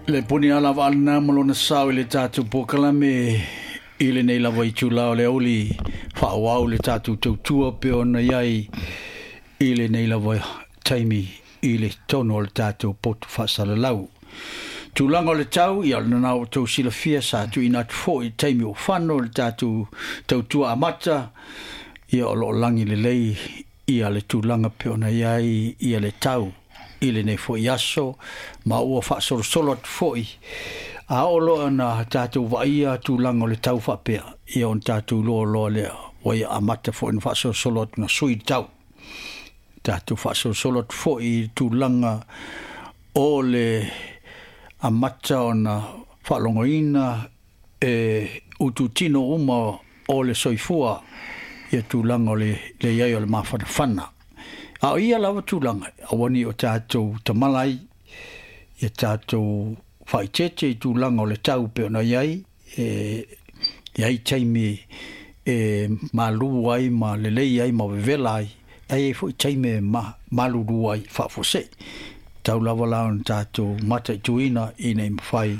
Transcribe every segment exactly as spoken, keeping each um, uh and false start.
Le puni ala waalina malona sao i le tātou pōkalame i le nei lava i tūlao le auli whaawau le tātou tautua pe ona iai i le nei lava taimi i le tono o le tātou potu whaasalalau. Tūlanga o le tau, ia o nā o tau silafia sa tu ina atu fo i taimi o whano le tātou tautua amata, ia o lo langi le lei ia le tūlanga pe ona iai ia le tau i le nei foi aso ma ua faasolosolo atu foi a oo loa na tatou vaaia tulaga o le tau faapea ia ona tatou iloa loa lea ua ia amata foi na faasolosolo atu na sui le tau tatou faasolosolo atu foi i le tulaga o le amata ona faalogoina e ututino uma o le soifua ia tulaga o le leiai o le mafanafana. A o ia lava tulaga, auani o tātou tamala ai, ia tātou whaitete i tulaga o le tau pe ona iai, e, iai taimi e malu ai ma lelei ai ma vevela ai, ai ai foi taimi e ma, malulu ai faafosei. Tau lava la ona tātou mataituina ina i mawhai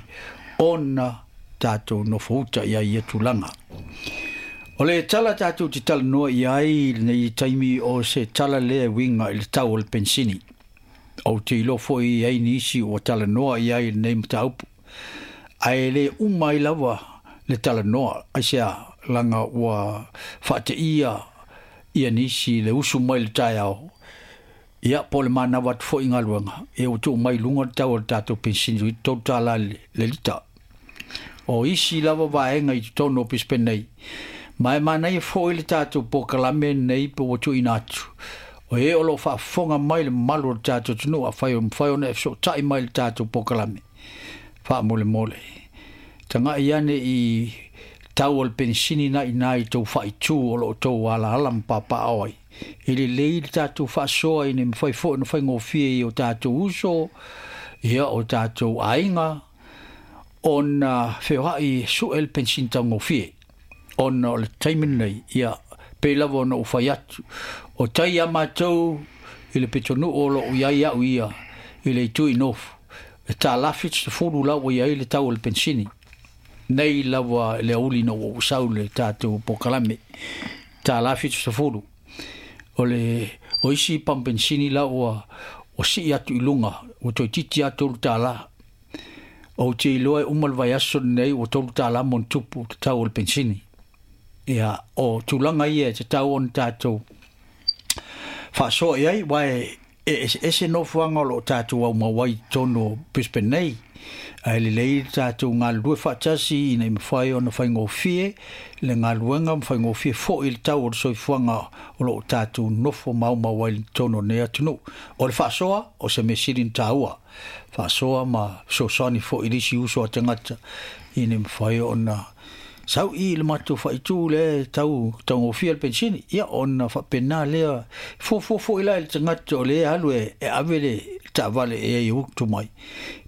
ona tātou nofouta ia ia tulaga. O le tala tātou te tala noa i ai nei taimi o se tala lea winga i le tau o le pensini. O te ilo foi i ai nisi o tala noa i ai nei mataupu. Ae le umai lava le tala noa. Ai sea langa ua whaate ia ia nisi le usu mai le taiao. Ia po le manawa atu foi ngaluanga. E o tuu mai lunga le tau o le tātou pensini i tolu tala le, le lita. O isi lava vaenga i totonu o Brisbane nei. Mai mana ia foi le tātou pōkalame nei pe ua tuuina atu. O e o lo faafofoga mai le mamalu o le tātou atunuu afai o mafai ona e fesootai mai le tātou pōkalame. Faamolemole. Taga'i ane i tau o le penisini na ina i tou faaitū o loo tou alaala ma papaao ai. E lelei le tātou faasoa ina mafai foi ona faigofie i o tātou uso, ia o tātou aiga, ona feoai su'e le penisini taugofie. Ona o le taimi lenei, ia pei lava ona ou fai atu. O tai ia mātou i le pitonuu o loo iai au ia i le itu i nofu. E tālā fitusefulu la ua iai le tau o le pensini. Nei lava le auli na ua ou sau le tātou pōkalame. Tālā fitusefulu. O le o isi pampensini la ua ua sii atu i luga, ua toeitiiti lava tolu tālā. Ou te iloa e uma le vaiaso lenei ua tolu tālā ma ona tupu te tau o le pensini. Ia, o tulaga ia e tatau ona tātou faasoa i ai, uae e eseese nofoaga o loo tātou aumau ai i totonu o Brisbane nei. Ae lelei le tātou galulue faatasi ina i mafai ona faigofie le galuega ma faigofie foi le tau o le soifuaga o loo tātou nofo maumau ai i totonu o lenei atunuu. O le faasoa, o se mea sili na tāua. Faasoa ma fesoasoani foi i le isi uso a tagata ina i mafai ona sau i le matou faaitu le tau taugofie le pensini. Ia ona faapena lea fuafua foi la i le tagata o le alu e, e ave le taavale e ai utu mai.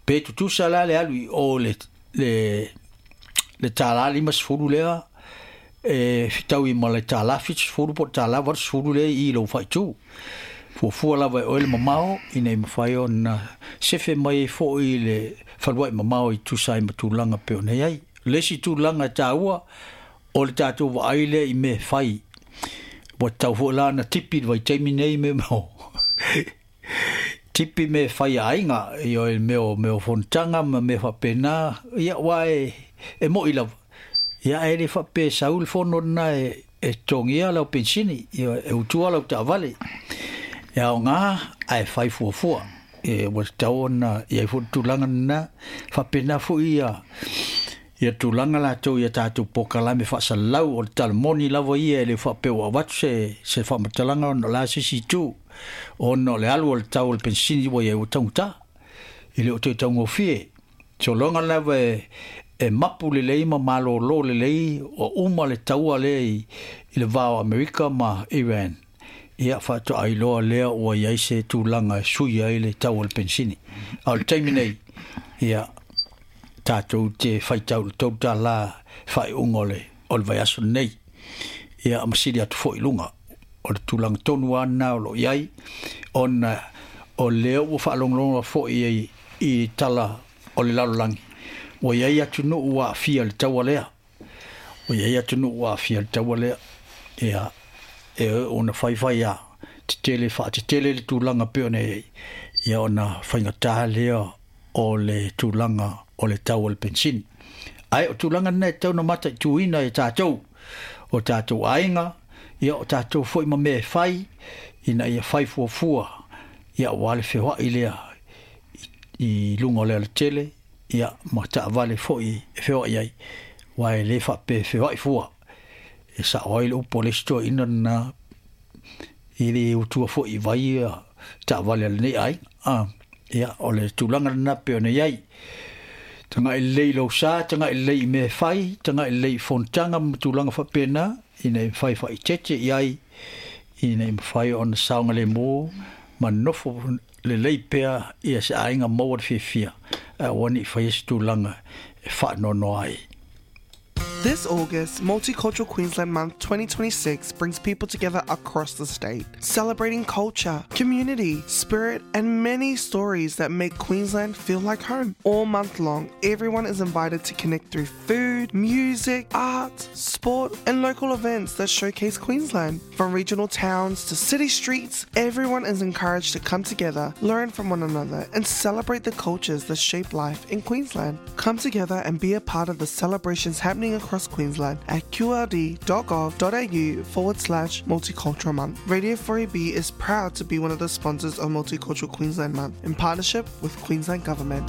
Pe tutusa la le alu i o le, le, le tālā limasefulu lea e fetaui ma le tālā fitusefulu po o le tālā valusefulu lea i lou faaitu. Fuafua lava e oe le mamao ina i mafai ona sefe mai ai foi le falua'i mamao i tusa ai ma tulaga pe ona iai. Le isi tulaga e tāua o le tātou vaai lea i mea fai. Ua tatau foi la ona tipi le vaitaimi nei mea mo. Tipi mea fai a aiga, ia e mea o mea o fonotaga ma mea faapena, ia ua e, e mo'i lava. Ia ae le faapea e sau le fono lena e, e totogia lau pensini, ia e utua lau taavale. E aogā ae fai fuafua. E ua tatau ona iai foi le tulaga lena, faapena foi ia ia tulaga latou ia tātou pōkalame faasalalau o le talamoni lava ia e le faapea ua avatu se, se faamatalaga ona o le a se isi itu. Ona o le alu o le tau o le pensini ua iai ua taugata. E le o toe taugofie. Sologa lava e, e mapu lelei ma malōlō lelei o uma le taua lea i, i le va o Amerika ma Iran. Ia faatoa iloa lea ua iai se tulaga e sui ai le tau o le pensini. A o le taimi nei, ia tātou te faitau le tolu tālā faaiuga o le, o le vaiaso lenei. Ia ma sili atu foi i luga. O le tulaga tonu lava lena o loo iai, ona o lea ua faalogologo foi i, i tala o le lalolagi. Ua iai atunuu ua aafia i le taua lea. Ua iai atunuu ua aafia i le taua lea. Ia e ona faifai a tetele faatetele le tulaga pei ona iai, ia ona faigatā lea o le tulaga o le tau o le penisini. Ae o tulaga lena e tatau ona mataituina e tatou, o tatou aiga, ia o tatou foi ma mea e fai, ina ia fai fuafua, ia aua le feoai lea i luga o le alatele, ia ma taavale foi e feoai ai, aua e le faapea e feoai fua. E sao ai le upu a le isi toeaina lena, e le utua foi i vai ia taavale a lenei aiga. A, ia, o le tulaga lena pei ona i ai. Tagai lelei i lou sa, tagai lelei i mea e fai, tagai lelei i fonotaga ma tulaga faapena, ina ia mafai faaeteete i ai, ina ia mafai ona saogalemu ma nofo lelei pea ia se aiga maua le fiafia, ae aua ne i faia se tulaga e faanoanoa ai. This August, Multicultural Queensland Month twenty twenty-six brings people together across the state, celebrating culture, community, spirit, and many stories that make Queensland feel like home. All month long, everyone is invited to connect through food, music, art, sport, and local events that showcase Queensland. From regional towns to city streets, everyone is encouraged to come together, learn from one another, and celebrate the cultures that shape life in Queensland. Come together and be a part of the celebrations happening across Queensland at qld.gov.au forward slash multicultural month. Radio four A B is proud to be one of the sponsors of Multicultural Queensland Month in partnership with Queensland Government.